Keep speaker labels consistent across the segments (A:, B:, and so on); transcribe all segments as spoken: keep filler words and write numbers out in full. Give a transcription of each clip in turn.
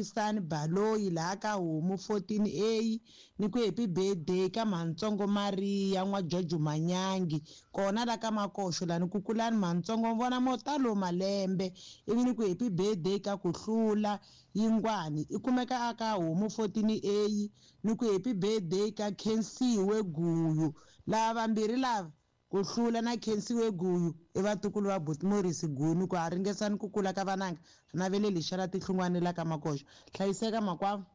A: Sani Baloyi laha ka Homu fourteen A ni ku happy birthday ka Mhantsongo Maria n'wa George Manyangi kona la ka Makoxo lani ku kulani Mhantsongo vona mo talo malembe ivi ni ku happy birthday ka ku hlula Yingwani i kumeka a ka Homu fourteen A ni ku happy birthday ka Khensiwe Guyu lava vambirhi lava ku hlula na Khensiwe Guyu i vatukulu va Buti Morris Guyu ni ku a ringesani ku kula ka vananga ri naveleli hi xela tihlungwana la ka Makoxo hlayiseka makwavo.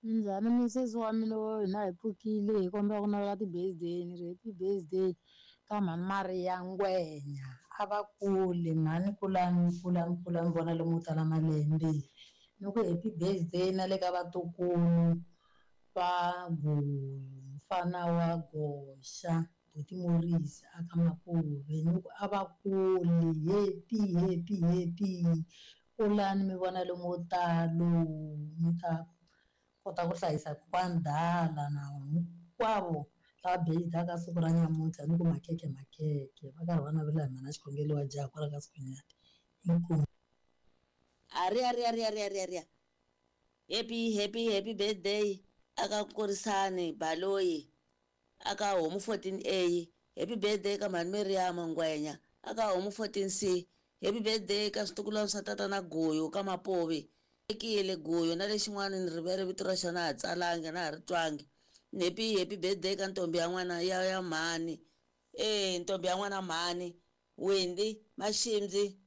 B: Minjhani misisi wa mina wo hina hi pfukile hi kombela ku navela ti-birthday ni ri happy birthday ka mhani Maria Ngwenya a va kule mhani kulani kulani kulani vona lomu tala malembe ni ku happy birthday na le ka vatukulu va Guyu mfana wa Goxa Buti Morris a ka Mapuve ni ku a va kule happy happy happy kulani mi vona lomu talo mi ta kota ku hlayisa kokwani Dala na hinkwavo lava birthday-aka siku ra nyamuntlha ni ku makhekhe makhekhe va karhi va navela hi mhana xikhongelo wa jaha kwala ka Sikhunyani inkomu.
C: Ari ari ari ari ari ari happy happy happy birthday aka Nkorisani Baloyi aka Homu fourteen A happy birthday ka mhani Miriam Ngwenya aka Homu fourteen C happy birthday ka switukulwana swa tatana Guyu ka Mapuvi ekile Guyu na lexin'wana ni rivele vito ra xona ha tsalangi na ha ri twangi happy happy birthday ka ntombi ya n'wana ya ya mhani eh ntombi ya n'wana mhani Wendy Mashimzi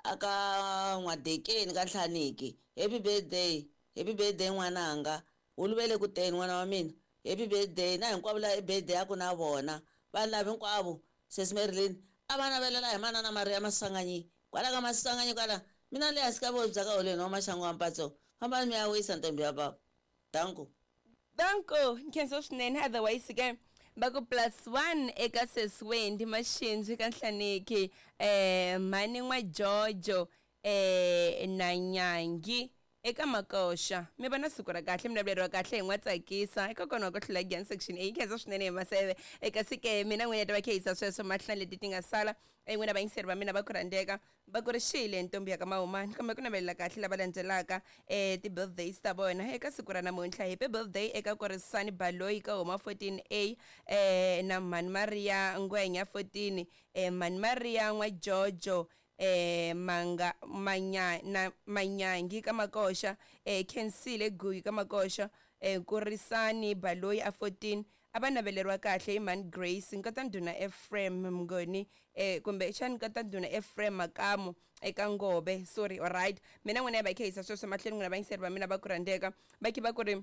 C: aka N'wadekeni ka Nhlaniki happy birthday happy birthday n'wananga huluvele ku teni n'wana wa mina happy birthday na hinkwavo la birthday ya ku na vona vanhu lava hinkwavo sesi Marilyn a va navelela hi manana Maria Masanganyi kwala ka Masanganyi kwala mina le hansi ka vohi bya ka holeni wa maxangu wa mpatso fambani mi ya wisa ntombi ya baba danko
D: danko nkhensa swinene otherwise ke va ku plus one eka sesi Wendy Mashinzi ka Nhlaniki eh mhani n'wa Jojo eh na Nyangi eka Makoxa mi va na siku ra kahle mi naveleriwa kahle hi n'wa tsakisa eka kona ku hlula Giyani section A khensa swinene hi maseve eka sike mina n'wina ta va khehisa sweswo mahlanu leti ti nga sala n'wina vayingiseri va mina va ku rhandzeka va ku ri xile ntombi ya ka Mahumani kambe ku navelela kahle lava landzelaka eh ti-birthdays ta vona eka siku ra namuntlha happy birthday eka Korisani Baloyi ka Homa fourteen A eh na mhani Maria Ngwenya fourteen eh mhani Maria n'wa Jojo eh manga manya na Manyangi ka Makoxa eh Khensile Guyu ka Makoxa eh Nkorisani Baloyi a fourteen a va naveleriwa kahle hi mhani Grace nkata ndhuna Ephraim Mngoni eh kumbe xana nkata ndhuna Ephraim Makamu eka Ngobe sorry alright mina n'wina va khehisa sweswo mahlweni n'wina vayingiseri va mina va ku rhandzeka va khe va ku ri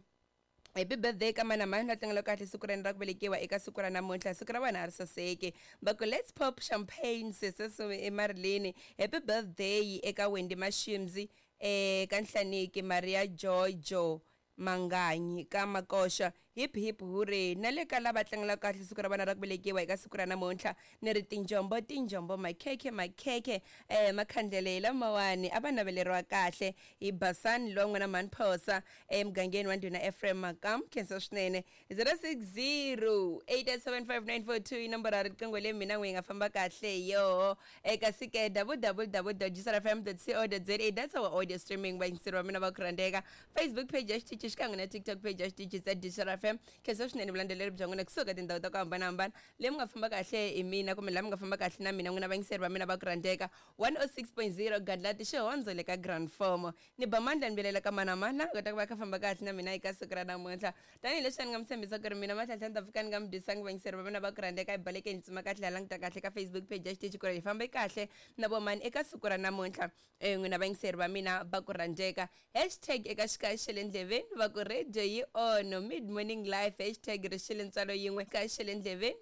D: happy birthday ka mana mani va tlangela kahle siku ra ra ku velekiwa eka siku ra namuntlha siku ra vona a ri saseki va ku let's pop champagne sese emarileni happy birthday eka Wendy Mashimzi eh ka Nhlaniki Maria Jojo Manganyi ka Makoxa hip hip hooray na le ka lava tlangelaka kahle siku ra vona ra ku velekiwa eka siku ra namuntlha ni ri tinjombo tinjombo makhekhe makhekhe eh makhandlele lamawani a va naveleriwa kahle hi Basani lowa n'wana mhani Phosa emugangeni wa ndhuna Ephraim Makam khensa swinene zero six zero eight eight seven five nine four two i nomboro ya riqingho leyi mina n'wi yi nga famba kahle yoho eka sike w w w dot g s r f m dot co dot za that's our audio streaming vayingiseri va mina va ku rhandzeka Facebook page ya xitichi xikan'we na TikTok page ya xitichi xa Digital F M khensa swinene vulandzeleri bya n'wina kusuka tindhawu ta ku hambanahambana leyi mi nga famba kahle hi mina kumbe laha mi nga famba kahle na mina n'wina vayingiseri va mina va ku rhandzeka one oh six point zero Gadlati xihondzo le ka Grand Formo ni ba mandla ni vilela ka mana mana kota ku va kha famba kahle na mina eka siku ra namuntlha tanihileswi ni nga mi tshembisa ku ri mina matlhantlha ni ta pfuka ni nga mi dyisangi vayingiseri va mina va ku rhandzeka hi balekeni tsima kahle ha languta kahle ka Facebook page ya xitichi ku ri hi fambe kahle na vomani eka siku ra namuntlha n'wina vayingiseri va mina va ku rhandzeka hashtag eka xikaya xa le ndleveni va ku radio yi ono mid morning life hashtag ri xile ntswalo yin'we ka xele ndleveni.